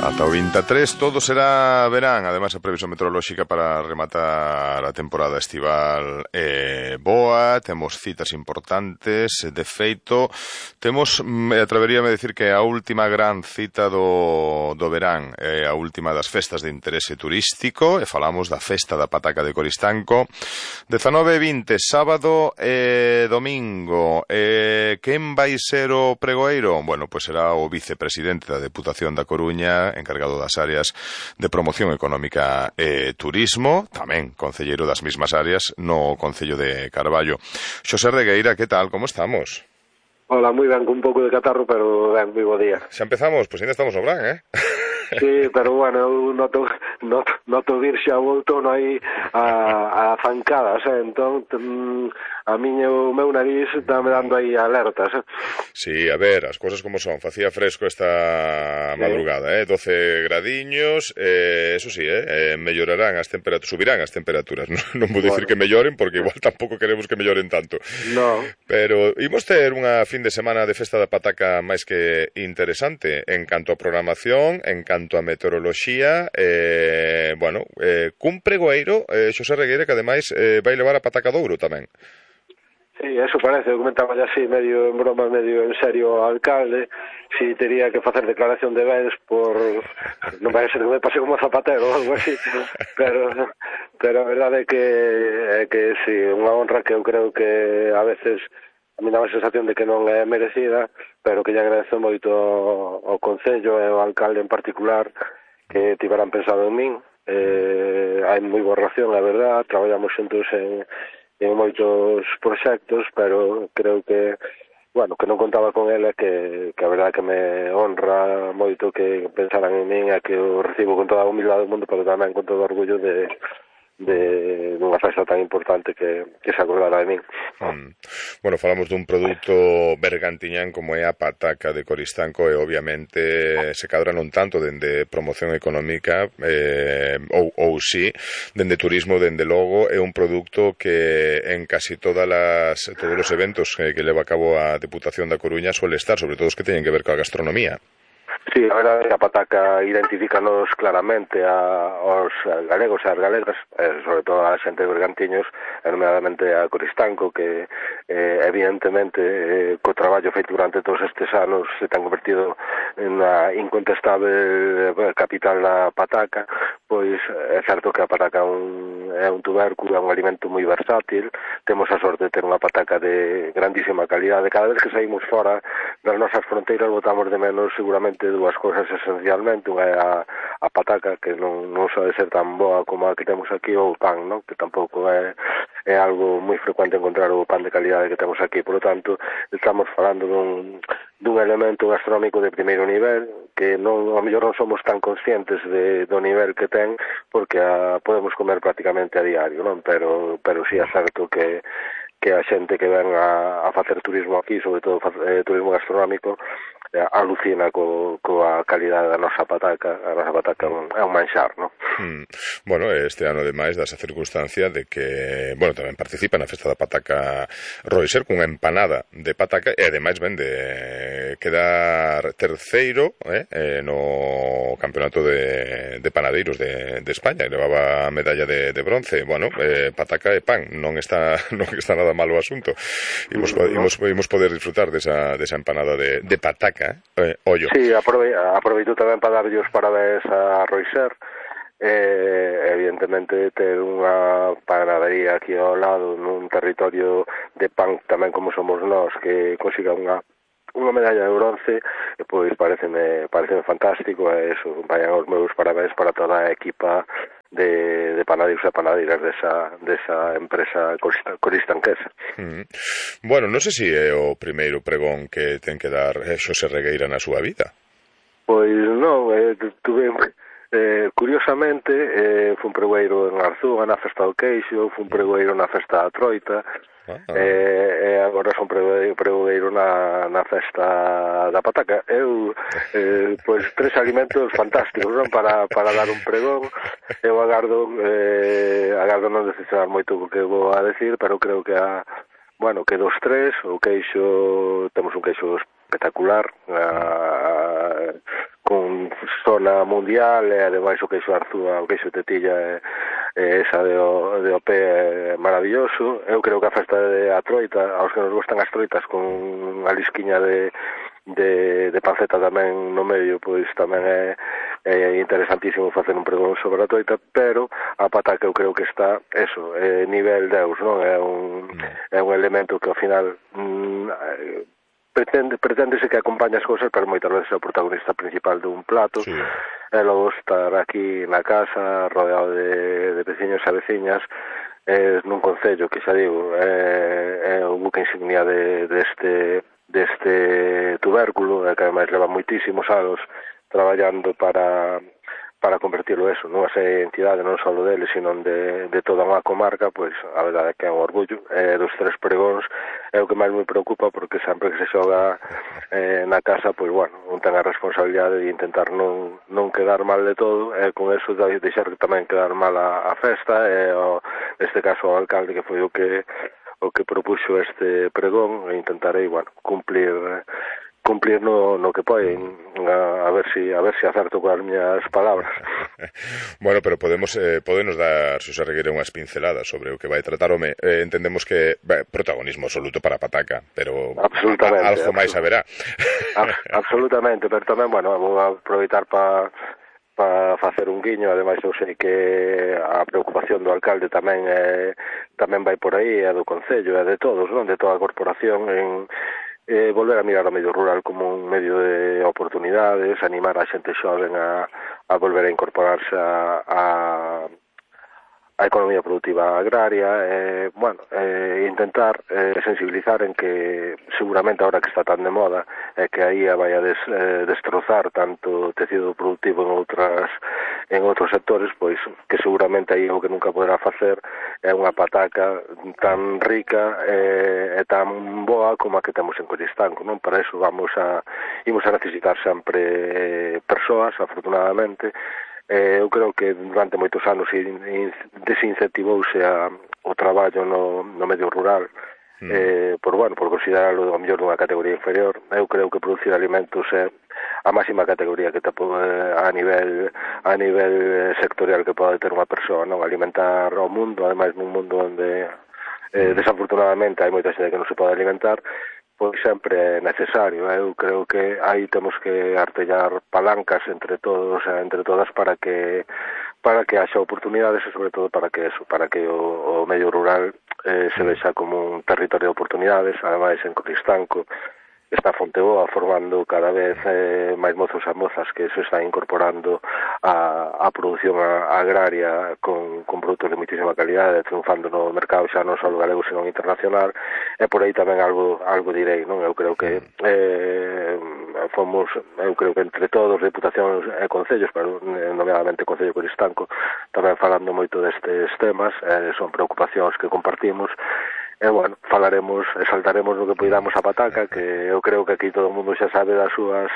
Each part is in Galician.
Ata o 23 todo será verán. Ademais, a previsión meteorolóxica para rematar a temporada estival boa. Temos citas importantes. De feito, temos, atreveríame a decir que a última gran cita do verán, a última das festas de interese turístico, e falamos da Festa da Pataca de Coristanco, 19 e 20, sábado e domingo. Quen vai ser o pregoeiro? Bueno, pois será o vicepresidente da Deputación da Coruña, encargado das áreas de promoción económica e turismo, tamén concelleiro das mismas áreas no Concello de Carballo. Xosé Regueira, que tal? Como estamos? Hola, moi ben, con un pouco de catarro, pero ben, moi bo día. Xa empezamos? Pois ainda estamos no brán, Sí, pero bueno, eu noto vir xa volto aí a zancadas, entón a o meu nariz dame dando aí alertas. Sí, a ver, as cousas como son. Facía fresco esta madrugada, 12 gradiños, eso sí, mellorarán as temperaturas, subirán as temperaturas. Non vou dicir que melloren, porque igual tampouco queremos que melloren tanto. No. Pero imos ter unha fin de semana de Festa da Pataca máis que interesante en canto a programación, en canto a meteoroloxía, cun pregoeiro, Xosé Regueira, que ademais vai levar a Pataca de Ouro tamén. Sí, eso parece, eu comentaba así, medio en broma, medio en serio ao alcalde, si tería que facer declaración de bens por... non vai ser que me pase como zapatero ou algo así, pero a verdade é que sí, unha honra que eu creo que a veces a mí dá a sensación de que non é merecida, pero que lle agradezo moito ao Concello e ao alcalde en particular que tiveran pensado en min. Hai moi boa relación, a verdade, traballamos xuntos en moitos proxectos, pero creo que que non contaba con ela, que a verdade que me honra moito que pensaran en min e que o recibo con toda a humildade do mundo, pero tamén con todo o orgullo de unha festa tan importante que se acordara de min. Bueno, falamos dun produto bergantiñán como é a Pataca de Coristanco e obviamente se cadra non tanto dende promoción económica ou si, dende turismo, dende logo, é un produto que en casi todos os eventos que leva a cabo a Deputación da Coruña suele estar, sobre todo os que teñen que ver coa gastronomía. Sí, a verdade, a Pataca identifícanos claramente aos galegos e as galegas, sobre todo a xente de Bergantiños, nomeadamente a Coristanco, que evidentemente co traballo feito durante todos estes anos se ten convertido na incontestable capital da Pataca. Pois é certo que a Pataca é un tubérculo, é un alimento moi versátil, temos a sorte de ter unha Pataca de grandísima calidade. Cada vez que saímos fora das nosas fronteiras botamos de menos seguramente dúas cousas esencialmente. Unha é a Pataca, que non sabe ser tan boa como a que temos aquí, ou o pan, non? Que tampouco é algo moi frecuente encontrar o pan de calidade que temos aquí. Por lo tanto, estamos falando dun elemento gastronómico de primeiro nivel, que a mellor non somos tan conscientes do nivel que ten, porque podemos comer prácticamente a diario, non? Pero sí é certo que a xente que ven a facer turismo aquí, sobre todo turismo gastronómico, alucina coa calidade da nosa Pataca. A nosa Pataca é un manxar, non? Bueno, este ano, ademais, das a circunstancia de que, tamén participa na Festa da Pataca Roiser cunha empanada de pataca e, ademais, ven de quedar terceiro no campeonato de panadeiros de España, que levaba a medalla de bronce. Pataca e pan, non está nada malo o asunto. Imos poder disfrutar desa empanada de pataca, ollo. Sí, aproveito tamén para darlle os parabéns a Roiser. Evidentemente ter unha panadería aquí ao lado nun territorio de pan tamén como somos nós, que consiga unha medalla de bronce, pois pareceme fantástico, e eso, vayan os meus parabéns para toda a equipa de panadeiros e panadeiras desa empresa coristanquesa. Non sei se é o primeiro pregón que ten que dar Xosé Regueira na súa vida. Pois non, tuve... curiosamente, fui un pregoeiro en Arzúa na Festa do Queixo, fui un pregoeiro na Festa da Troita, e agora son pregoeiro na Festa da Pataca. Eu, pois, tres alimentos fantásticos, non? Para dar un pregón. Eu agardo non decepcionar moito o que vou a decir, pero creo que que dos tres, o queixo, temos un queixo espectacular, zona mundial, e ademais o queixo Arzúa, o queixo Tetilla esa de OP é maravilloso. Eu creo que a festa de a troita, aos que nos gustan as troitas con a lisquiña de panceta tamén no medio, pois tamén é interesantísimo facer un pregón sobre a troita, pero a pataca eu creo que está nivel Deus, non? É un elemento que ao final preténdese que acompaña as cousas, pero moitas veces é o protagonista principal dun plato. Sí. E logo estar aquí na casa rodeado de veciños e veciñas nun concello que xa digo é o buque insignia deste tubérculo, que ademais leva moitísimos anos traballando para convertirlo nunha entidade non só dele, sino de toda unha comarca. Pois a verdade é que é un orgullo. Dos 3 pregóns é o que máis me preocupa, porque sempre que se xoga na casa, pois bueno, un ten a responsabilidade de intentar non quedar mal de todo, e con eso deixar tamén quedar mal a festa, neste caso o alcalde, que foi o que propuxo este pregón, e intentarei, bueno, cumplir no que poden, a ver si acerto coas miñas palabras. Bueno, pero podenos dar, Xosé Regueira, unhas pinceladas sobre o que vai tratar. Entendemos que protagonismo absoluto para a pataca, pero algo máis haberá. Absolutamente, pero tamén, bueno, vou aproveitar para facer un guiño. Ademais, eu sei que a preocupación do alcalde tamén vai por aí, é do concello, é de todos, non? De toda a corporación, en volver a mirar o medio rural como un medio de oportunidades, animar a xente xoven a volver a incorporarse a economía productiva agraria, intentar sensibilizar en que seguramente ahora que está tan de moda que a IA vai a destrozar tanto tecido productivo en outros sectores, pois que seguramente aí o que nunca poderá facer é unha pataca tan rica e tan boa como a que temos en Coristanco, non? Para iso imos a necesitar sempre persoas, afortunadamente. Eu creo que durante moitos anos desincentivouse o traballo no medio rural, por considerarlo a mellor dunha categoría inferior. Eu creo que producir alimentos é a máxima categoría que a nivel sectorial que pode ter unha persoa, non? Alimentar ao mundo, ademais nun mundo onde desafortunadamente hai moita xente que non se pode alimentar, pois sempre é necesario. Eu creo que aí temos que artellar palancas entre todos e entre todas para que haxa oportunidades, e sobre todo para que o medio rural se vexa como un territorio de oportunidades. Ademais, en Coristanco está Fonteboa formando cada vez máis mozos e mozas que se están incorporando a produción agraria con produtos de muitísima calidade, triunfando no mercado xa non só galego, sino internacional. E por aí tamén algo direi, non? Eu creo que entre todos, deputacións e concellos, pero nomeadamente o Concello de Coristanco, tamén falando moito destes temas, son preocupacións que compartimos. Falaremos e saltaremos no que poidamos a pataca, que eu creo que aquí todo o mundo xa sabe das súas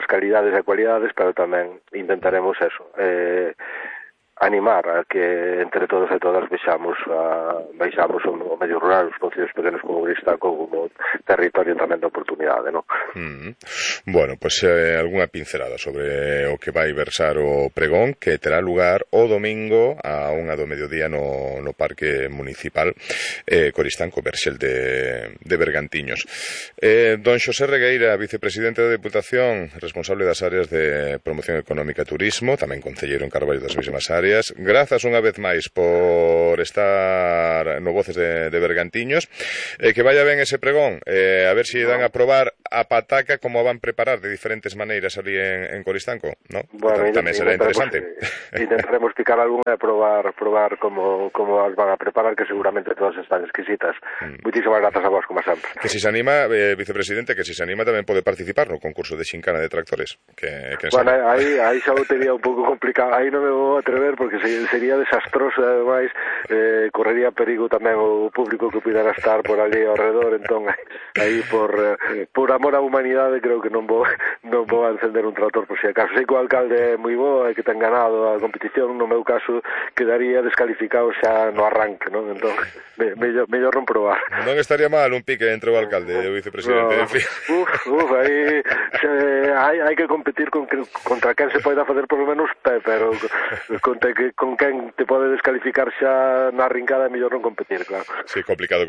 calidades e cualidades, pero tamén intentaremos animar a que entre todos e todas vexamos o medio rural, os concellos pequenos como Coristanco, como territorio tamén de oportunidade, non? Bueno, pois algunha pincelada sobre o que vai versar o pregón, que terá lugar o domingo a 1 do mediodía no Parque Municipal Coristanco, Verxel de Bergantiños. Don Xosé Regueira, vicepresidente da Deputación, responsable das áreas de promoción económica e turismo, tamén concelleiro en Carballo das mesmas áreas. Grazas unha vez máis por estar no Voces de Bergantiños, que vaya ben ese pregón, a ver se dan a probar a pataca como a van preparar de diferentes maneiras ali en Coristanco, ¿no? Bueno, tamén será interesante. Intentaremos picar algunha e probar como as van a preparar, que seguramente todas están exquisitas. Muchísimas grazas a vos, como sempre. Que si se anima, vicepresidente, tamén pode participar no concurso de xincana de tractores. Aí xa o tenía un pouco complicado, aí non me vou atrever facer porque sería desastroso e ademais correría perigo tamén o público que pudera estar por ali ao redor, entón aí por amor á humanidade creo que non vou a encender un trator por si acaso. Sei que o alcalde é moi bo e que ten ganado a competición, no meu caso quedaría descalificado xa no arranque, non? Entón mellor non probar. Non estaría mal un pique entre o alcalde e o vicepresidente, en fin. Aí hai que competir contra quen se poida facer por lo menos pé, pero con quen te pode descalificar xa na rincada é mellor non competir, claro. Sí, complicado.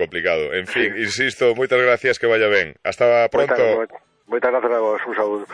En fin, insisto, moitas gracias, que vaya ben. Hasta pronto. Moitas gracias a vos, un saúdo.